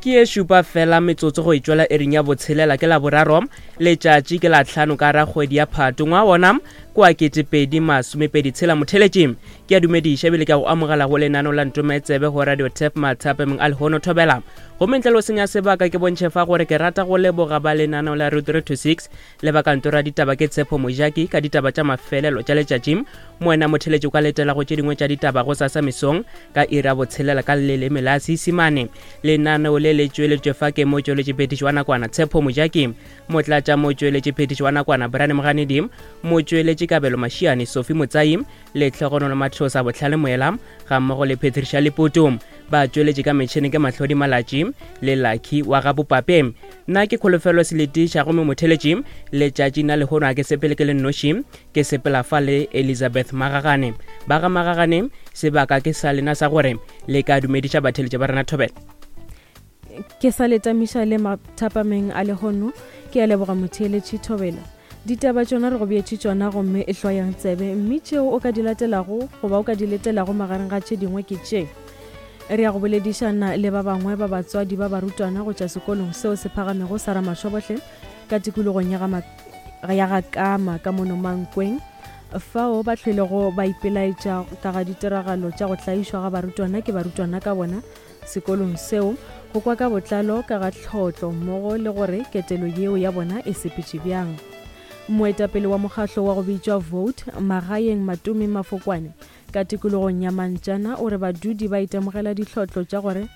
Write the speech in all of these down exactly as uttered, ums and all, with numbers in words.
Ke ye šupa fela metsotso go itšwela ering ya botshelela ke la boraro letšatši ke la tlhano ka ra kgwedi ya Phato ngwa wona kwa ketepedi masomepedi tshela. Motheletši ke a dumediša ebile ke a go amogela go lenano la Ntometsebe go Radio Tap mathapemeng a lehono thobela. Gomme ntle le go senya sebaka ke bontšhe fa gore ke rata go leboga ba lenaneo la Route three to six le ba kantoro ya ditaba ke Tshepo Mojaki ka ditaba tša mafelelo tša letšatši. Moena motheletši o ka letela go tše dingwe tša ditaba go sasa mesong ka iri ya botshelela ka leleme la Seisimane. Lenaneo le le tšweletšwe fa ke motšweletši phetiši wa nakwana Tshepo Mojaki, motlatša motšweletši phetiši wa nakwana Brian Moganedi, motšweletši Kabelo Mashiane, Sophie Motsai, le Tlhogonolo Mathosa Botlhale Moela ga mmogo le Patricia Leputu. Ba tšweletše ka metšhene ke Mahlodi Malatši le Lucky wa ga Bopape. Nna ke Kholofelo Seletiša gomme motheletši letšatši na lehono a ke sepele ke le nnoši, ke sepela fa le Elizabeth Magagane. Ba ga Magagane, sebaka ke sa lena sa gore le ka dumediša batheletši ba rena thobela. Ke sa letamiša le mathapameng a lehono, ke a leboga motheletši thobela. Ditaba tšona re go beetše tšona gomme e hloyang tsebe, mme tšeo o ka di latelago goba o ka di letelago magareng ga tše dingwe ke tše. Re ya go boledišana le ba bangwe ba batswadi ba barutwana go tšwa sekolong seo se phagamego sa Ramashobohle ka tikologong ya ga ya ga Kama ka mono Mankweng, fao ba hlwelego ba ipelaetša ka ga ditiragalo tša go tlaišwa ga barutwana ke barutwana ka bona sekolong seo, go kwa ka botlalo ka ga tlhotlo mmogo le gore ketelo yeo ya bona e sepetše bjang. Moetapele wa mokgahlo wa go bitšwa Vote Magaeng Matome Mafokwane ka tikologong ya Mantšana o re badudi ba itemogela ditlhotlo tša gore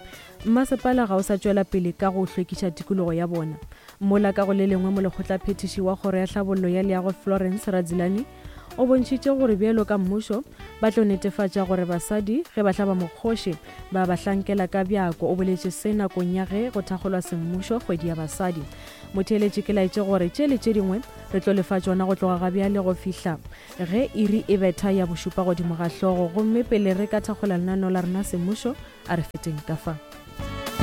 mmasepala ga o sa tšwela pele ka go hlwekiša tikologo ya bona. Mola ka go le lengwe molekgotlaphethiši wa kgoro ya tlhabollo ya leago Florence Radzilani o bontšhitše gore bjalo ka mmušo ba tlo netefatša gore basadi ge ba hlaba mokgoši ba ba hlankela ka bjako. O boletše se nakong ya ge go thakgolwa semmušo kgwedi ya basadi. Motheeletši ke laetše gore tše le tše dingwe re tlo lefa tšona go tloga ga bjale go fihla ge iri e betha ya bošupa godimo ga hlogo, gomme pele re ka thakgola lenaneo la rena semmušo a re feteng ka fa.